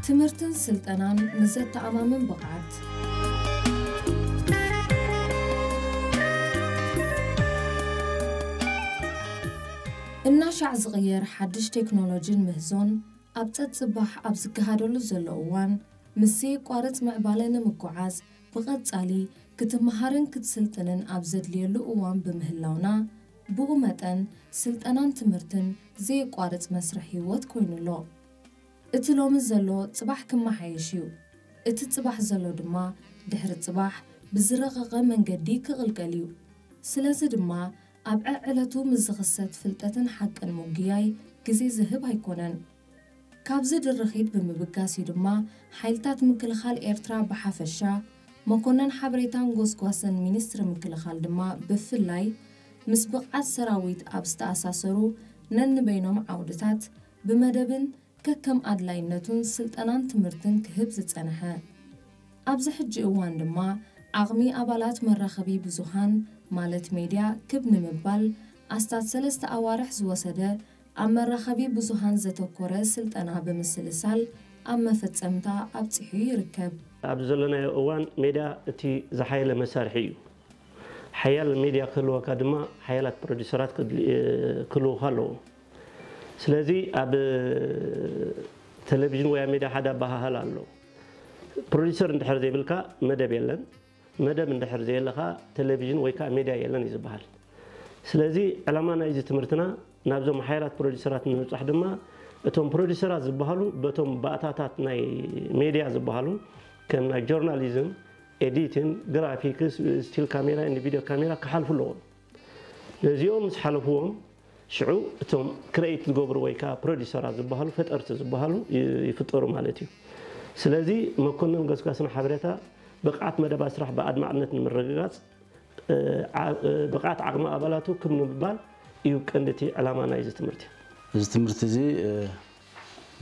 ትምህርትን ስልጠናን ንዘተኣማምን ብቕዓት። እናሻዕ ዝቕየር ሓድሽ ቴክኖሎጂን ምህዞን ኣብ ጸጽባሕ ኣብ ዝገሃደሉ ዘሎ እዋን፣ ምስ ዘየቋርጽ ምዕባለ ንምጉዓዝ ብቐጻሊ ክትመሃርን ክትስልጥንን ኣብ ዘድልየሉ እዋን ብምህላውና፣ ብኡ መጠን ስልጠናን ትምህርትን ዘየቋርጽ መስርሕ ህይወት ኮይኑ ኣሎ። እቲ ሎሚ ዘሎ ጽባሕ ክመሓየሽ እዩ። እቲ ጽባሕ ዘሎ ድማ ድሕሪ ጽባሕ ብዝረቐቐ መንገዲ ክቕልቀል እዩ። ስለዚ ድማ ኣብ ዕዕለቱ ምስ ዝኽሰት ፍልጠትን ሓቅን ምጉያይ ግዜ ዝህብ ኣይኮነን። ካብዚ ድርኺት ብምብጋስ እዩ ድማ ሓይልታት ምክልኻል ኤርትራ ብሓፈሻ፣ መኮነን ሓበሬታን ጎስጓስን ሚኒስትሪ ምክልኻል ድማ ብፍላይ፣ ምስ ብቕዓት ሰራዊት ኣብ ዝተኣሳሰሩ ነንበይኖም ዓውድታት ብመደብን ከከም ኣድላይነቱን ስልጠናን ትምህርትን ክህብ ዝጸንሐ። ኣብዚ ሕጂ እዋን ድማ ዓቕሚ ኣባላት መራኸቢ ብዙሃን ማለት ሜድያ ክብ ንምባል ኣስታት ሰለስተ ኣዋርሕ ዝወሰደ ኣብ መራኸቢ ብዙሃን ዘተኮረ ስልጠና ብምስልሳል ኣብ መፈጸምታ ኣብጺሑ ይርከብ። ኣብዚ ዘለናዮ እዋን ሜድያ እቲ ዝሓየለ መሳርሒ እዩ። ሓያል ሜድያ ክህልወካ ድማ ሓያላት ፕሮዲሰራት ክድል-፣ ክህልውኻ ኣለዎም። ስለዚ ኣብ ቴሌቪዥን ወይ ኣብ ሜድያ ሓደ ኣበሃህላ ኣሎ። ፕሮዲሰር እንድሕር ዘይብልካ መደብ የለን፣ መደብ እንድሕር ዘየለኻ ቴሌቪዥን ወይ ከዓ ሜድያ የለን እዩ ዝበሃል። ስለዚ ዕላማ ናይዚ ትምህርትና ናብዞም ሓያላት ፕሮዲሰራት ንምብጻሕ ድማ እቶም ፕሮዲሰራት ዝበሃሉ በቶም ባእታታት ናይ ሜድያ ዝበሃሉ ከም ናይ ጆርናሊዝም፣ ኤዲቲን፣ ግራፊክስ፣ ስቲል ካሜራ፣ ቪድዮ ካሜራ ክሓልፉ ኣለዎም። ነዚኦም ምስ ሓለፍዎም ሽዑ እቶም ክሬኤት ዝገብሩ ወይ ከዓ ፕሮዲሰራት ዝበሃሉ ፈጠርቲ ዝበሃሉ ይ-፣ ይፍጠሩ ማለት እዩ። ስለዚ መኮንን ገስጋስን ሓበሬታ ብቕዓት መደባት ስራሕ ብኣድማዕነት ንምርግጋጽ፣ እ፣ ዓ-፣ እ፣ ብቕዓት ዓቕሚ ኣባላቱ ክብ ንምባል እዩ ቀንዲ እቲ ዕላማ ናይዚ ትምህርቲ። እዚ ትምህርቲ እዚ፣ እ፣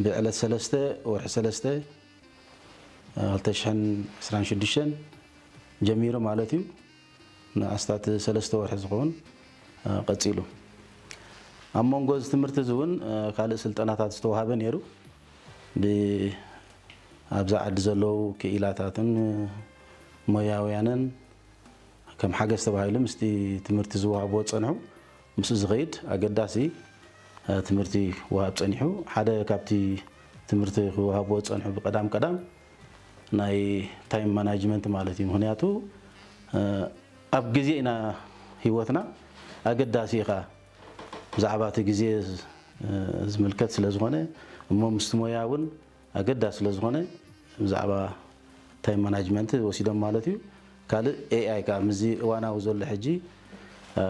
ብዕለት ሰለስተ ወርሒ ሰለስተ፣ እ፣ ክልተ ሽሕን ዕስራን ሽዱሽተን ጀሚሩ ማለት እዩ። ንኣስታት ሰለስተ ወርሒ ዝኸውን፣ እ፣ ቀጺሉ። ኣብ መንጎ እዚ ትምህርቲ እዚ እውን፣ እ፣ ካልእ ስልጠናታት ዝተዋሃበ ነይሩ። ብ-፣ ኣብዛ ዓዲ ዘለዉ ክኢላታትን ሞያውያንን ከም ሓገዝ ተባሂሉ ምስቲ ትምህርቲ ዝወሃብዎ ዝጸንሑ፣ ምስኡ ዝኸይድ ኣገዳሲ፣ እ፣ ትምህርቲ ክወሃብ ጸኒሑ። ሓደ ካብቲ ትምህርቲ ክወሃብዎ ዝጸንሑ ብቀዳም ቀዳም ናይ ታይም ማናጅመንት ማለት እዩ። ምኽንያቱ፣ እ፣ ኣብ ግዜ ኢና ህይወትና ኣገዳሲ ኢኻ ብዛዕባ እቲ ግዜ፣ እ፣ ዝምልከት ስለ ዝኾነ፣ እሞ ምስቲ ሞያ እውን ኣገዳሲ ስለ ዝኾነ ብዛዕባ ታይም ማናጅመንት ወሲዶም ማለት እዩ። ካልእ ኤ ኣይ ከዓ ምስዚ እዋናዊ ዘሎ ሕጂ፣ እ፣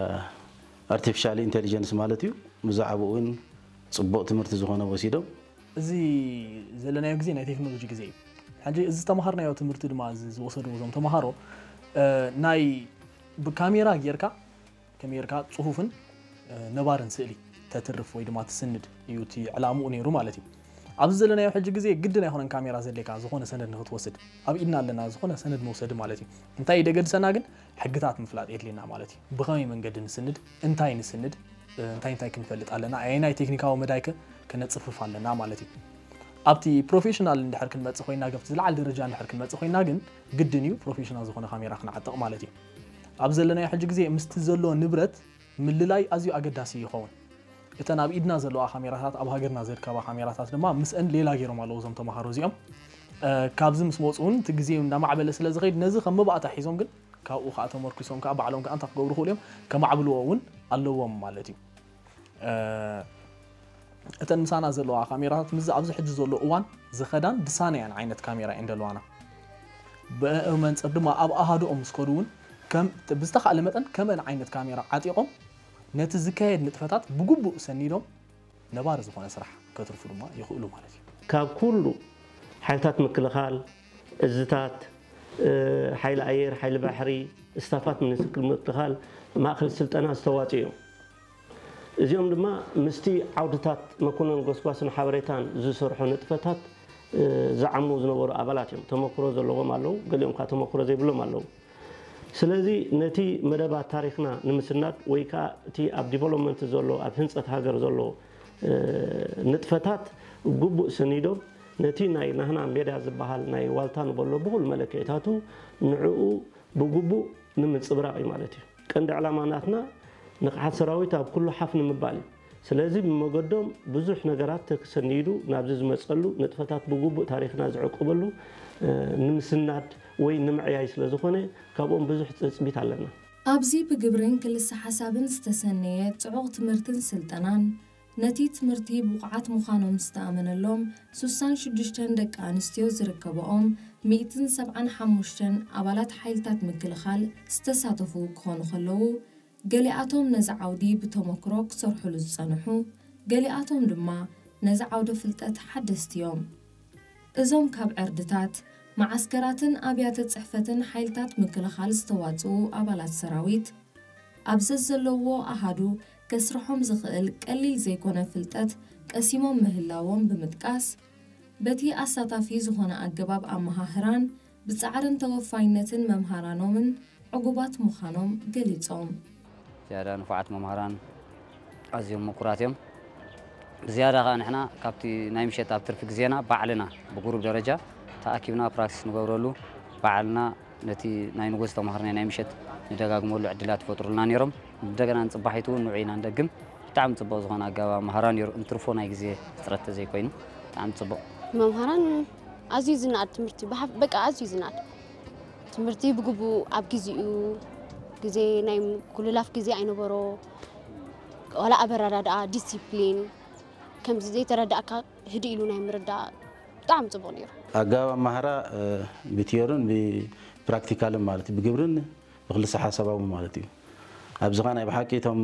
ኣርቲፊሻል ኢንቴሊጀንስ ማለት እዩ። ብዛዕባኡ እውን ጽቡቕ ትምህርቲ ዝኾነ ወሲዶም። እዚ ዘለናዮ ግዜ ናይ ቴክኖሎጂ ግዜ እዩ። ሕጂ እዚ ዝተምሃርናዮ ትምህርቲ ድማ እዚ ዝወሰድዎ እዞም ተምሃሮ፣ እ፣ ናይ ብካሜራ ጌርካ ከመይ ጌርካ ጽሁፍን፣ እ፣ ነባርን ስእሊ ተትርፍ ወይ ድማ ትስንድ እዩ እቲ ዕላምኡ ነይሩ ማለት እዩ። ኣብዚ ዘለናዮ ሕጂ ግዜ ግድን ኣይኮነን ካሜራ ዘድልየካ ዝኾነ ሰነድ ንክትወስድ። ኣብ ኢድና ኣለና ዝኾነ ሰነድ መውሰዲ ማለት እዩ። እንታይ ደገድሰና ግን ሕግታት ምፍላጥ የድልየና ማለት እዩ። ብኸመይ መንገዲ ንስንድ፣ እንታይ ንስንድ፣ እ፣ እንታይ እንታይ ክንፈልጥ ኣለና፣ ኣየናይ ቴክኒካዊ መዳይ ከ ከነጽፍፍ ኣለና ማለት እዩ። ኣብቲ ፕሮፌሽናል እንድሕር ክንመጽእ ኮይና፣ ኣብቲ ዝለዓለ ደረጃ እንድሕር ክንመጽእ ኮይና ግን ግድን እዩ ፕሮፌሽናል ዝኾነ ካሜራ ክንዓጥቕ ማለት እዩ። ኣብ ዘለናዮ ሕጂ ግዜ ምስቲ ዘሎ ንብረት ምልላይ ኣዝዩ ኣገዳሲ ይኸውን። እተን ኣብ ኢድና ዘለዋ ካሜራታት፣ ኣብ ሃገርና ዝርከባ ካሜራታት ድማ ምስአን ሌላ ገይሮም ኣለዉ እዞም ተምሃሮ እዚኦም። እ፣ ካብዚ ምስ መጹ እውን እቲ ግዜ እንዳማዕበለ ስለ ዝኸይድ ነዚ ከም መባእታ ሒዞም ግን ካብኡ ከዓ ተመርኪሶም ከዓ ባዕሎም ከዓ እንታይ ክገብሩ ይኽእሉ እዮም? ከማዕብልዎ እውን ኣለዎም ማለት እዩ። እ፣ እተን ምሳና ዘለዋ ካሜራታት ምስዚ ኣብዚ ሕጂ ዘሎ እዋን ዝኸዳን ድሳነያን ዓይነት ካሜራ እየን ዘለዋና። ብኡ መንጽር ድማ ኣብ ኣሃዱኦም ምስ ከዱ እውን ከም፣ ብዝተኻእለ መጠን ከምአን ዓይነት ካሜራ ዓጢቖም ነቲ ዝካየድ ንጥፈታት ብግቡእ ሰኒዶም ነባሪ ዝኾነ ስራሕ ከትርፉ ድማ ይኽእሉ ማለት እዩ። ካብ ኩሉ ሓይልታት ምክልኻል፣ እዝታት፣ እ፣ ሓይሊ ኣየር፣ ሓይሊ ባሕሪ፣ ስታፋት ሚኒስትሪ ምክልኻል ማእከል ስልጠና ዝተዋፅኡ እዮም። እዚኦም ድማ ምስቲ ዓውድታት መኮነን ጎስጓስን ሓበሬታን ዝሰርሑ ንጥፈታት፣ እ፣ ዝዓሙ ዝነበሩ ኣባላት እዮም። ተመክሮ ዘለዎም ኣለዉ፣ ገሊኦም ከዓ ተመክሮ ዘይብሎም ኣለዉ። ስለዚ ነቲ መደባት ታሪኽና ንምስናድ ወይ ከዓ እቲ ኣብ ዲቨሎፕመንት ዘሎ፣ ኣብ ህንፀት ሃገር ዘሎ፣ እ፣ ንጥፈታት ግቡእ ሰኒዶም ነቲ ናይ ናህና ሜዳ ዝበሃል ናይ ዋልታ ንበሎ ብኹሉ መለክዒታቱ ንዕኡ ብግቡእ ንምንጽብራቕ እዩ ማለት እዩ። ቀንዲ ዕላማ ናትና ንቕሓት ሰራዊት ኣብ ኩሉ ሓፍ ንምባል እዩ። ስለዚ ብመገዶም ብዙሕ ነገራት ተሰኒዱ ናብዚ ዝመጸሉ ንጥፈታት ብግቡእ ታሪኽና ዝዕቅበሉ ንምስናድ ወይ ንምዕያይ ስለ ዝኾነ ካብኦም ብዙሕ ትጽቢት ኣለና። ኣብዚ ብግብርን ክልሰ ሓሳብን ዝተሰነየ ጽዑቕ ትምህርትን ስልጠናን ነቲ ትምህርቲ ብቑዓት ምዃኖም ዝተኣመነሎም ሱሳን ሽዱሽተን ደቂ ኣንስትዮ ዝርከበኦም ሚእትን ሰብዓን ሓሙሽተን ኣባላት ሓይልታት ምክልኻል ዝተሳተፉ ክኾኑ ከለዉ፣ ገሊኣቶም ነዚ ዓውዲ ብተመክሮ ክሰርሑሉ ዝጸንሑ፣ ገሊኣቶም ድማ ነዚ ዓውደ ፍልጠት ሓደስቲ እዮም። እዞም ካብ ዕርድታት፣ መዓስከራትን ኣብያተ ጽሕፈትን ሓይልታት ምክልኻል ዝተዋጽኡ ኣባላት ሰራዊት፣ ኣብ ዘዘለዎ ኣሃዱ ከስርሖም ዝኽእል ቀሊል ዘይኮነ ፍልጠት ቀሲሞም ምህላዎም ብምጥቃስ፣ በቲ ኣሳታፊ ዝኾነ ኣገባብ ኣመሃህራን ብጻዕርን ተወፋይነትን መምሃራኖምን ዕጉባት ምዃኖም ገሊጾም። ዝያዳ ንፉዓት መምሃራን ኣዝዮም ምቁራት እዮም። ብዝያዳ ከኣ ንሕና ካብቲ ናይ ምሸት ኣብ ትርፊ ግዜና ባዕልና ብጉሩብ ደረጃ ተኣኪብና ፕራክቲስ ንገብረሉ፣ ባዕልና ነቲ ናይ ንጎስ ተማሃርናይ ናይ ምሸት ንደጋግመሉ ዕድላት ይፈጥሩልና ነይሮም። እንደገና ንጽባሒቱ እውን ንዑ ኢና ንደግም። ብጣዕሚ ጽቡቕ ዝኾነ ኣገባብ ኣምሃራ ነይሩ፣ እንትርፎ ናይ ግዜ ሕጽረት ተዘይኮይኑ ብጣዕሚ ጽቡቕ። መምሃራን ኣዝዩ ዝነኣድ ትምህርቲ፣ ብሓፍ-፣ በቃ ኣዝዩ ዝነኣድ ትምህርቲ ብግቡእ ኣብ ግዜኡ፣ ግዜ ናይ ምኩልላፍ ግዜ ኣይነበሮ፣ ዋላ ኣበረዳድኣ፣ ዲሲፕሊን፣ ከምዚ ዘይተረዳእካ ህድእ ኢሉ ናይ ምርዳእ ብጣዕሚ ጽቡቕ ነይሩ። ኣገባብ ኣመሃራ፣ እ፣ ብቲዮርን ብፕራክቲካልን ማለት እዩ፣ ብግብርን ብክልሰ ሓሳባዊ ማለት እዩ። ኣብዚ ኸኣ ናይ ብሓቂ እቶም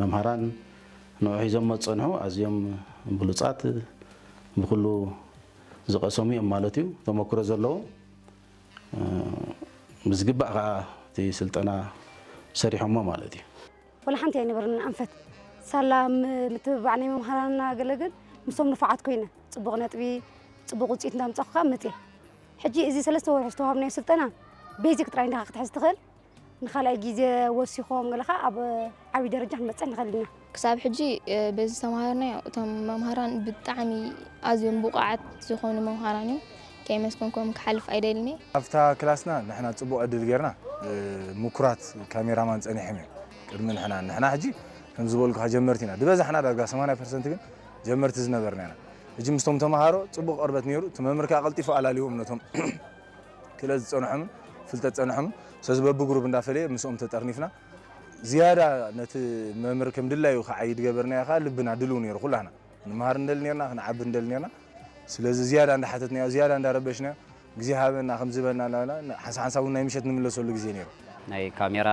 መምሃራን ንዑ ሒዞም ዝጸንሑ ኣዝዮም ብሉጻት፣ ብኩሉ ዝቐሰሙ እዮም ማለት እዩ፣ ተመክሮ ዘለዎም፣ እ፣ ብዝግባእ ኸኣ እቲ ስልጠና ሰሪሖሞ ማለት እዩ። ወላ ሓንቲ ኣይነበረን ኣንፈት። ሳላ ም-፣ ምትብባዕ ናይ መምሃራንና ገለ ግን ምስቶም ንፉዓት ኮይነ፣ ጽቡቕ ነጥቢ፣ ጽቡቕ ውጽኢት እንዳምጻኹ ከኣ መጽየ። ሕጂ እዚ ሰለስተ ወርሒ ዝተዋሃብናዮ ስልጠና ቤዚክ ጥራይ እንዲኻ ክትሕዝ ትኽእል። ንኻልኣይ ግዜ ወሲኾም ገለ ከኣ ኣብ ዓብዪ ደረጃ ክንበጽሕ ንኽእል ኢና። ክሳብ ሕጂ፣ እ፣ በዚ ዝተምሃርናዮ እቶም መምሃራን ብጣዕሚ ኣዝዮም ብቑዓት ዝኾኑ መምሃራን እዮም። ከየመስገንኩም ክሓልፍ ኣይደልን እየ። ኣብታ ክላስና ንሕና ጽቡቕ ዕድል ጌርና፣ እ፣ ምኩራት ካሜራማን ጸኒሖም እዮም ቅድሚ ንሕና። ንሕና ሕጂ ከም ዝበልኩኻ ጀመርቲ ኢና። ዝበዛሕና ዳርጋ ሰማንያ ፐርሰንት ግን ጀመርቲ ዝነበርና ኢና። ሕጂ ምስቶም ተምሃሮ ጽቡቕ ቅርበት ነይሩ። እቲ መምህር ከኣ ቀልጢፉ ኣላልይዎም ነቶም ክእለት ዝጸንሖምን ፍልጠት ዝጸንሖምን። ስለዚ በብግሩፕ እንዳፈለየ ምስኦም ተጠርኒፍና ዝያዳ ነቲ መምህር ከም ድላዩ ክዓዪ ዝገበርናዮ ከኣ ልብና ድልው ነይሩ ኩላህና። ክንመሃር ንደሊ ኔርና፣ ክንዓቢ ንደሊ ኔርና። ስለዚ ዝያዳ እንዳሓተትናዮ፣ ዝያዳ እንዳረበሽናዮ፣ ግዜ ሃበና ከም ዝበልና እናበልና፣ ሓንሳ ሓንሳብ እውን ናይ ምሸት ንምለሰሉ ግዜ ነይሩ። ናይ ካሜራ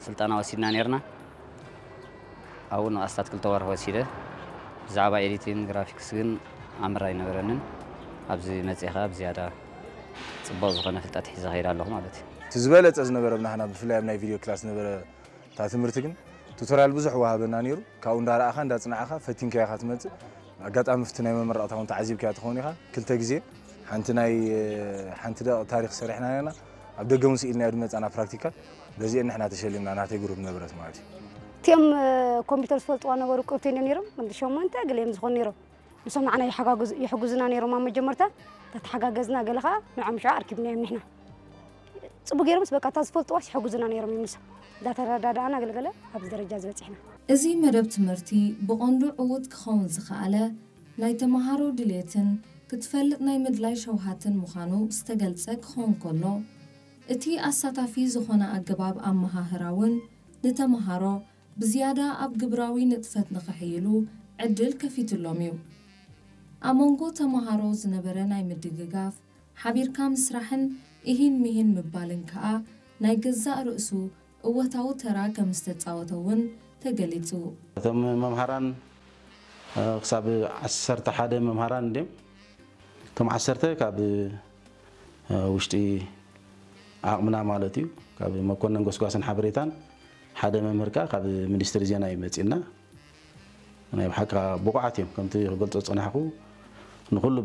ስልጠና ወሲድና ኔርና። ኣብኡ ንኣስታት ክልተ ወርሒ ወሲደ። ብዛዕባ ኤዲቲንግ ግራፊክስ ግን ኣምር ኣይነበረንን። ኣብዚ መጺኤ ኸኣ ብዝያዳ ጽቡቕ ዝኾነ ፍልጠት ሒዘ ኸይደ ኣለኹ ማለት እዩ። እቲ ዝበለጸ ዝነበረ ብናህና ብፍላይ ኣብ ናይ ቪድዮ ክላስ ዝነበረ እታ ትምህርቲ ግን ቱቶርያል ብዙሕ ወሃበና ነይሩ። ካብኡ እንዳረኣኻ እንዳጽናዕኻ ፈቲንካዮ ኢኻ ትመጽእ። ኣጋጣሚ ኣብቲ ናይ መመረቕታ እውን ተዓዚብካዮ ትኸውን ኢኻ። ክልተ ግዜ ሓንቲ ናይ፣ ሓንቲ ደቂቕ ታሪኽ ሰሪሕና ነርና። ኣብ ደገ እውን ስኢልናዮ ዝመጻና ፕራክቲካል በዚአን ንሕና ተሸሊምና፣ ናተይ ግሩፕ ነበረት ማለት እዩ። እቲኦም፣ እ፣ ኮምፒውተር ዝፈልጥዋ ነበሩ ቅብተኛ ነይሮም፣ ክንዲ ሸሞንተ ገለ እዮም ዝኾኑ ነይሮም። ንሶም ንዓና ይሓጋግዙ-፣ ይሕግዙና ነይሮም ኣብ መጀመርታ። ተተሓጋገዝና ገለ ኸዓ ንዖም ሽዑ ኣርኪብናዮም ንሕና። ጽቡቅ ገይሮምስ በቃ እታ ዝፈልጥዋስ ይሕግዙና ነይሮም እዮም ንሶም። እንዳተረዳዳእና ገለገለ ኣብዚ ደረጃ ዝበጺሕና። እዚ መደብ ትምህርቲ ብቐንዱ ዕዉት ክኸውን ዝኸኣለ ናይ ተመሃሮ ድልየትን ክትፈልጥ ናይ ምድላይ ሸውሃትን ምዃኑ ዝተገልጸ ክኸውን ከሎ፣ እቲ ኣሳታፊ ዝኾነ ኣገባብ ኣመሃህራ እውን ንተመሃሮ ብዝያዳ ኣብ ግብራዊ ንጥፈት ንኽሕይሉ ዕድል ከፊቱሎም እዩ። ኣብ መንጎ ተመሃሮ ዝነበረ ናይ ምድግጋፍ፣ ሓቢርካ ምስራሕን እሂን ምሂን ምባልን ከኣ ናይ ገዛእ ርእሱ እወታዊ ተራ ከም ዝተጻወተ እውን ተገሊጹ። እቶም መምሃራን፣ እ፣ ክሳብ ዓሰርተ ሓደ መምሃራን እንድዮም። እቶም ዓሰርተ ካብ፣ እ፣ ውሽጢ ዓቕምና ማለት እዩ። ካብ መኮነን ጎስጓስን ሓበሬታን ሓደ መምህር ከኣ ካብ ሚኒስትሪ ዜና እዩ መጺእና። ናይ ብሓቂ ብቑዓት እዮም። ከምቲ ክገልጾ ዝጸናሕኩ ንኹሉ